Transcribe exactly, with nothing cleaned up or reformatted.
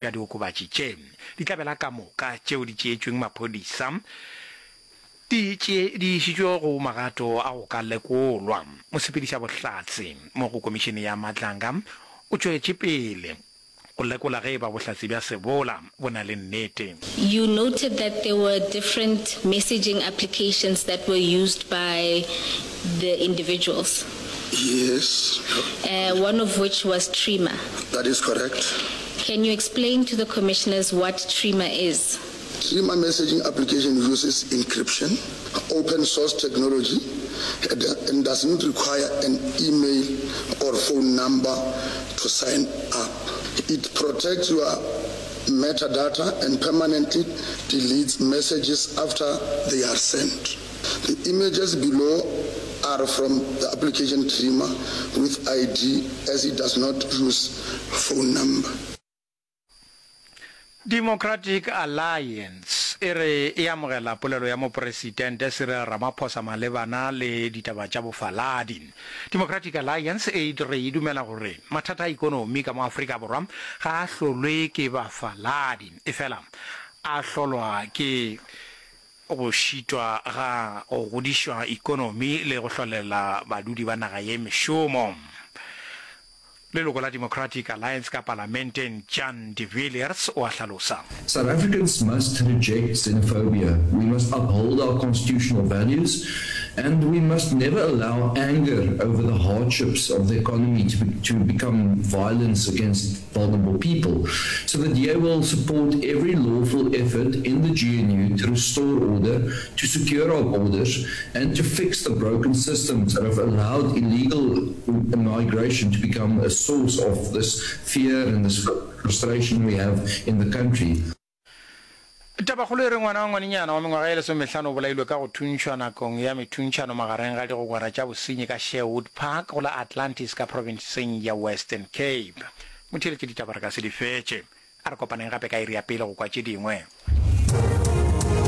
Bja diokobatši tše. Ditlabela ka moka tšeo di tšeetšweng maphodisa di tše di išitšwe go magato a go ka lekolwa. Mosepedišabohlatse mo go Komišene ya Madlanga o tšwetše pele go lekola ge e ba bohlatse bja Sebola bo na le nnete. You noted that there were different messaging applications that were used by the individuals. Yes. Uh, one of which was Trima. That is correct. Can you explain to the commissioners what Trima is? Trima messaging application uses encryption, open source technology, and doesn't require an email or phone number to sign up. It protects your metadata and permanently deletes messages after they are sent. The images below are from the application Trima with I D as it does not use phone number. Democratic Alliance e re e amogela polelo ya Mopresidente Cyril Ramaphosa malebana le ditaba tša bofaladi. Democratic Alliance e re e dumela gore mathata a ikonomi ka mo Afrika Borwa ga a hlolwe ke bafaladi, efela a hlolwa ke go šitwa ga go godišwa ikonomi le go hlolela badudi ba naga ye mešomo. Leloko la Democratic Alliance ka Palamenteng Jan de Villiers o a hlalosa. South Africans must reject xenophobia. We must uphold our constitutional values and we must never allow anger over the hardships of the economy to, be, to become violence against vulnerable people. So the D A will support every lawful effort in the G N U to restore order, to secure our borders, and to fix the broken systems that have allowed illegal migration to become a source of this fear and this frustration we have in the country. Tabakgolo e re ngwana wa ngwanenyana wa mengwaga e lesomehlano o bolailwe ka go thuntšhwa nakong ya methuntšhano magareng ga digogwana tša bosenyi ka Sherwood Park go la Atlantis ka profenseng ya Western Cape. Motheeletši, ditaba re ka se di fetše. A re kopaneng gape ka iri ya pele go kwa tše dingwe.